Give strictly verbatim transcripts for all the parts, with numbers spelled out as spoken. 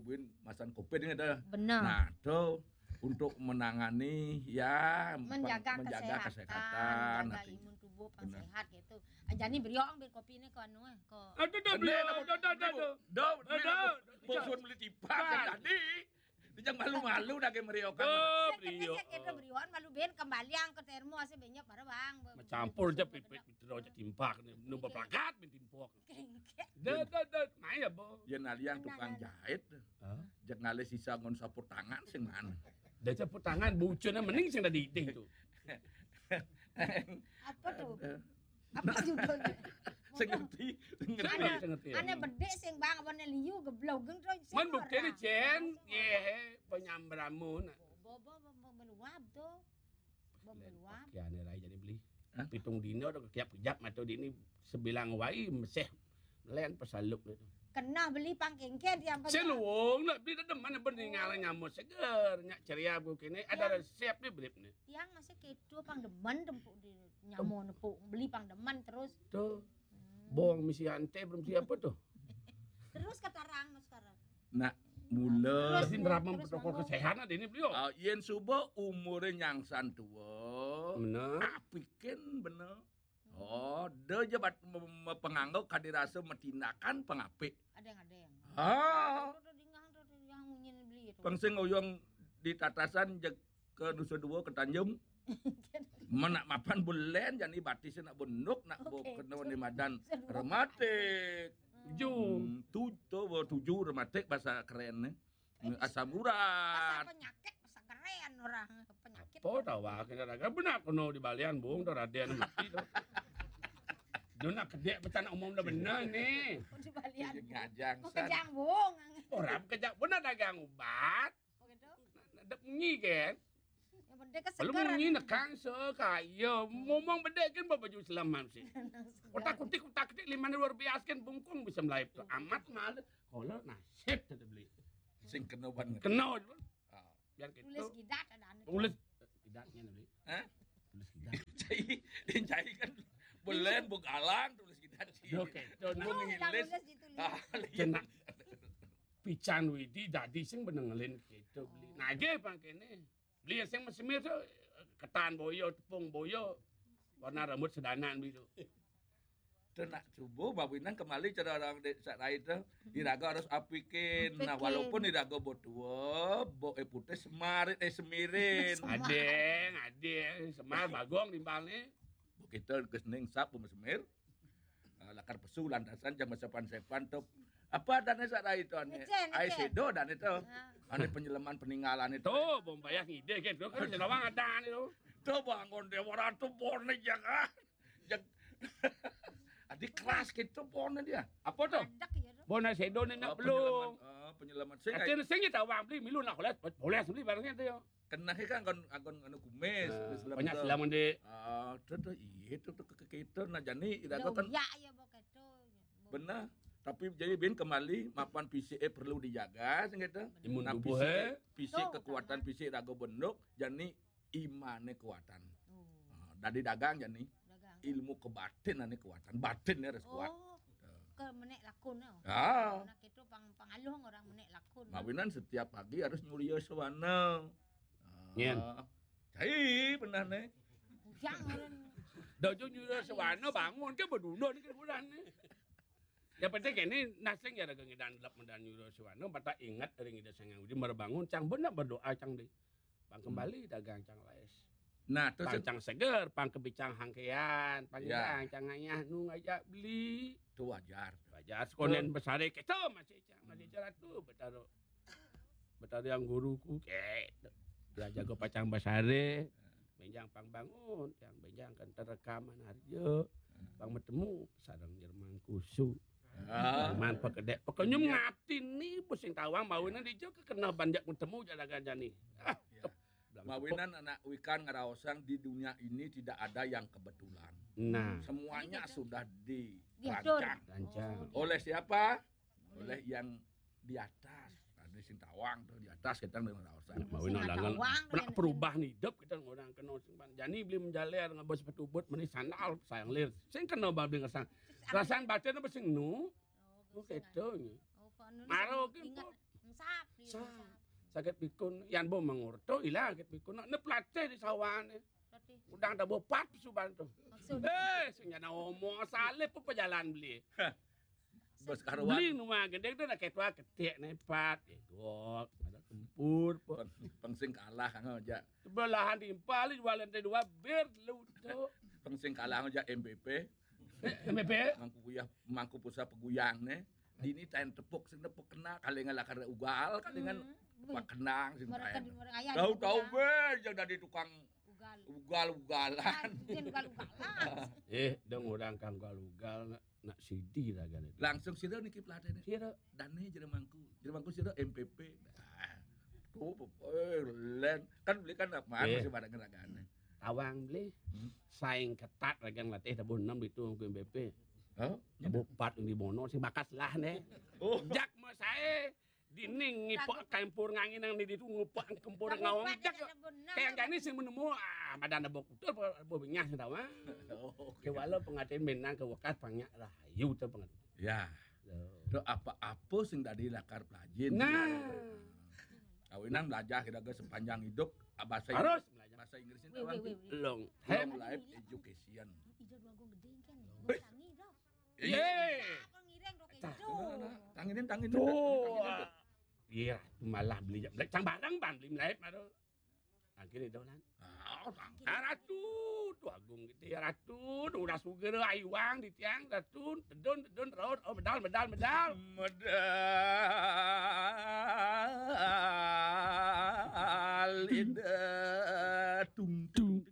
Buin masan covid ini ada. Benar. Nah, itu untuk menangani ya Menjaga, menjaga kesehatan, kesehatan. Jaga Nanti. Imun tubuh pang Benar. Sehat gitu. Ah, jani beriok ambil kopi ini ke anu eh, ke Aduh, aduh, beli, aduh, aduh, aduh, aduh. Dah, Aduh. Bosun beli tipak Tipak. Tadi. Dia jangan malu-malu dah kayak meriok. Aduh, Saya kira beliau. Saya kira beriok malu ben kembali ang ke termo saya banyak barang bang. Campur aja pipit terus aja timpak nih. Nu berplakat ben timpok. Kengkek. Dah, dah, dah. Nah ya, Bo. Ya naliang tukang jahit. Hah? Jak ngalih sisa ngon sapu tangan sing mana? Dah sapu tangan bucunnya mending sing tadi itu tuh. Apa tuh? Apa judulnya? Sing ngerti, sing ngerti. Saya ngerti, ngerti ya. Ane bedek sing bang apa ne liu geblogeng terus. Man buktinya Cen, ye penyambramu nak. Bobo meluap tuh. Bobo meluap. Kiane rai jadi beli. Hah? Pitung dino udah kekiap kejap mata di ini sebilang wai meseh len pesaluk itu. Kena beli pang kengkek dia apa? Seluung nak beli dah demen bening ngalah nyamuk seger, nyak ceria aku kini ada resep ni beli ni. Yang masih kedo pang demen tempuk di nyamo nepuk beli pang demen terus. Tuh. Bong misi ante belum siapa tuh. Terus kata orang sekarang. Nah, mula Terus nerapkan terus protokol ngomong. Kesehatan ada ini beliau. Ah, yen suba umure nyangsan tua, Bener. apikin bener. Oh, dia je bat me- me- penganggo kadi rasa metinakan pengapik. Ada yang ada yang. Ah, Tuh, tuh, dingah tuh, tuh, yang munyin beli itu. Pengsing oyong di tatasan jeg ke Nusa Dua ke Tanjung. Menak mapan bulen jani batis nak benduk nak bo Oke, kena betul. ni madan Nusa Dua. Rematik. Tujuh. Hmm, tu tu bo tujuh rematik bahasa keren ni. Asam Pasal urat. Penyakit pasal keren orang penyakit. Apa tawa kena raga benar kono di balian bung tu raden mati tu. Dia nak kedek betul nak umum dah benar ni. Di balian. Ngajang Mau san. kejang bung. Orang kejak benar dagang ubat. Begitu. Nak munyi kan? Yang penting kan Belum segar. munyi nekang sekaya. Ngomong bedek kan bawa baju selamat sih. Kotak kutik kotak kutik lima luar biasa kan bungkung bisa melayu tu. Amat mahal. Kalau nasib tak beli. Sing kena ban. Kena tu. Ah. Biar kita Tulis gidat ada anu. Tulis gidatnya beli. Hah? Tulis gidat. Cai, cai kan bulen begalang tulis kita cai. Oke, tu Bung Yang ngilis. tulis ditulis. Ah, Kena pican widi dadi sing benengelin gitu beli. Nage pang kene. Beli sing mesemir tu ketan boyo, tepung boyo. Warna rambut sedanan beli tu. Tu nak cuba bawinan kembali cara orang dek sak rai tu. Iraga harus apikin. Nah, Apikin. Walaupun iraga bo tua, bo eh putih semarit eh semirin. Adeng, adeng, semar bagong timbal ni. Bo kita ke sening sap bo semir. Ah, lakar pesu lantasan jam sepan-sepan tu. Apa adanya sak rai tu ni? Ngecen, Ai ngecen. Sedo dan itu. Ah. Ada penyelaman peninggalan itu. Tu bom payah ngide kan tu kan Lawang ada ni tu. Tu bangun dia orang tu bone jaga. Jag Adi keras gitu bone dia. Apa tu? Adak ya tu. Bona sedo ni nak Ah, belum. penyelaman. Ah, penyelaman. Sing Kata sing kita awang beli milu nak boleh boleh beli barang tu. Kena kan kon agon anu kumis. Ah, Terus dalam banyak tu. Selamat dek. Ah, tu tu iya tu tu ke ke- kita nak jani iraga Lo kan ya ya bo keto. benar. Tapi jadi bin kembali mapan fisik eh perlu dijaga sing kata. Imun Nah, tubuh fisik, eh. fisik Tuh, kekuatan utama. Fisik raga benduk, jani imane kekuatan. Oh, Ah, dari dagang jani. Dagang. Ilmu kebatinan ni kekuatan. Batin ni harus kuat. Oh, ke menek lakun tu. Ah. Nak itu pang pangaluh orang menek lakun. Mawinan setiap pagi harus nyuria sewana. Ah. Nyen. Cai benar ni. Ujang orang. Dah tu nyuruh sewana bangun ke berduduk ni kan bulan ni. Yang penting kini nasing ya raga ngidan lap medan nyuruh sewana bata ingat dari ngidan sangang udi mara bangun cang benar berdoa cang di. Pang kembali dagang cang lais. Nah, terus Pang cang seger, pang kebicang hangkean, pang Ya. ngidang cang ngayah nu ngajak beli. Tu wajar. Wajar sekonen besare kita masih cang masih ceratu betaro. Betaro yang guruku ke. Dia jago pacang besare. Benjang pang bangun, yang benjang kan terekaman harjo. Pang bertemu sarang Jerman kusu. Ah. Jerman pekedek, pekenyum ngati ni pusing tawang mawinan di jo kekena banjak bertemu jalagan jani. Ah, Ya. tep. Bilang Mawinan anak wikan ngeraosang di dunia ini tidak ada yang kebetulan. Nah, Semuanya Jadi, sudah dirancang. Diatur. Rancang. Oleh siapa? Oleh yang di atas. Ada sing tawang tu di atas kita nang ngeraosang. Mawinan Sing dangan tawang pernah dengan perubahan hidup kita orang kena sing pan. Jani beli menjaler ngabas sepatu but meni sandal sayang lir. Sing kena babi ngersang. Rasang batin apa sing nu? Oh, Oh, keto ni. Oh, Pak Nun Maro sing ke, ingat, Pak. Sap, iya, sap. Sap. Sakit pikun, yan bo mangurto, ilang sakit pikun. Nak ne pelatih di sawane. Pelatih. Udang dah bopat suban tu. Maksud? Eh, sing jana omo salib apa jalan beli. Bos karuan. Beli rumah gendeng tu nak ketua ketik ne pat, egok, ada kempur, po. Peng-, pengsing kalah, ngau, ja. Sebelahan timpal, jualan teh dua, bir, lu tu. Pengsing kalah, ngau, ja, M P P. Eh, M P P? Mangku kuyah, mangku pusat peguyang ne. Dini tain tepuk, sing tepuk kena, kali ngalakar ugal, kali ngan. Hmm. Pak Kenang, sing mereka tain. Di orang ayah tahu-tahu juga. Be, yang dari tukang ugal. Ugal-ugalan. Ah, dia ugal-ugalan. Eh, dong orang kang ugal-ugal, nak, nak sidi lah kan itu. Langsung sira niki pelatih ni. Sira. Dane jere mangku. Jere mangku sira M P P. Ah, tuh, eh, len. Kan beli kan apa, eh, masih pada ngeragane. Tawang beli. Hmm. Saing ketat ragang latih tabuh enam itu ke M P P. Hah? Tabuh empat di Bono sing bakas lah ne. Oh. Jak mau saya dinding ngipok kempur ngangin nang di itu ngupok kempur ngawang jak. Kayak gani sing menemu, ah, badan tabuh kutul, tabuh benyah sing tawa. Oh, oke. Ke walau pengatin benang ke wekas panyak rahayu tu pengatin. Ya. Tuh. Tu apa-apa sing dadi lakar pelajin. Nah. Kawinan belajar kita ke sepanjang hidup, ah, bahasa harus Inggris. Belajar. Bahasa Inggris itu wih, wih, wih, wih. Long. Long life education. Ijo dua gong gede kan. Long. Tangi dah. Iya. Iya. Aku ngiring dok itu. Tanginin, tanginin. Tuh. Tanginin, tanginin. Iya, malah beli, beli cang barang ban beli live baru. Tangkir itu kan. Ah, tangkir. Ah, Ratu, tu agung gitu ya Ratu, tu udah suger ayuang di tiang Ratu, tedun tedun raut, oh medal medal medal. Medal ida tung tung.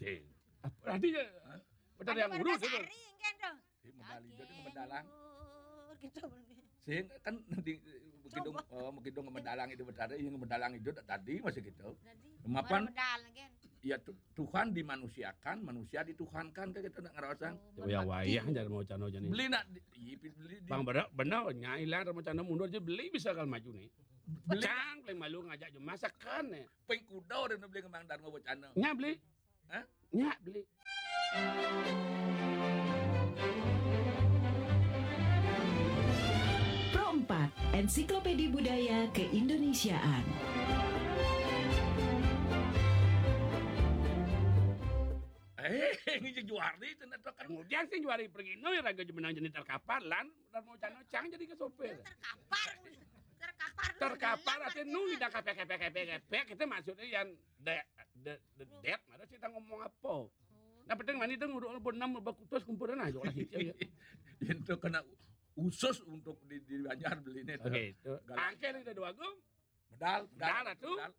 Deh. Apa tadi ya? Hah? Betul yang urus itu. Hari yang kan tuh. Eh, medal ijo tu medalang. Gitu. Sing kan di Bekidung, coba. Oh, Bekidung medalang itu betara, yang medalang itu tadi masih gitu. Tadi. Mapan, medal kan. Ya, Tu-, Tuhan dimanusiakan, manusia dituhankan, kan kita nak ngerasa. Oh, ya, merpati. Wayah jar mau cano jani. Beli nak di, iya, beli di. Bang, benar, benar, nyai lah mau cano mundur aja beli bisa kalau maju nih. Beli. Cang, paling malu ngajak je masakan nih. Peng kuda udah beli kembang dan mau cano. Nya beli. Hah? Nya beli. Pro empat, Ensiklopedi Budaya Keindonesiaan. Eh, ini juari itu nak kan. Kemudian sing juari pergi no, raga je menang jenis terkapar, lan, dan mau cano cang jadi ke sopir. Terkapar, terkapar. Terkapar, artinya nu lidah kepek, kepek, kepek, kepek, kita maksudnya yang de-, de-, de-, dead, mana kita ngomong apa? Oh. Nah, penting mani tu nguruk pun enam bakutus kumpulan aja lah gitu ya. Yang tu kena usus untuk di, di Banjar beli ni tu. Oke, itu. Galak. Angkel itu dua gum. Medal, medal, medal lah tu. Medal.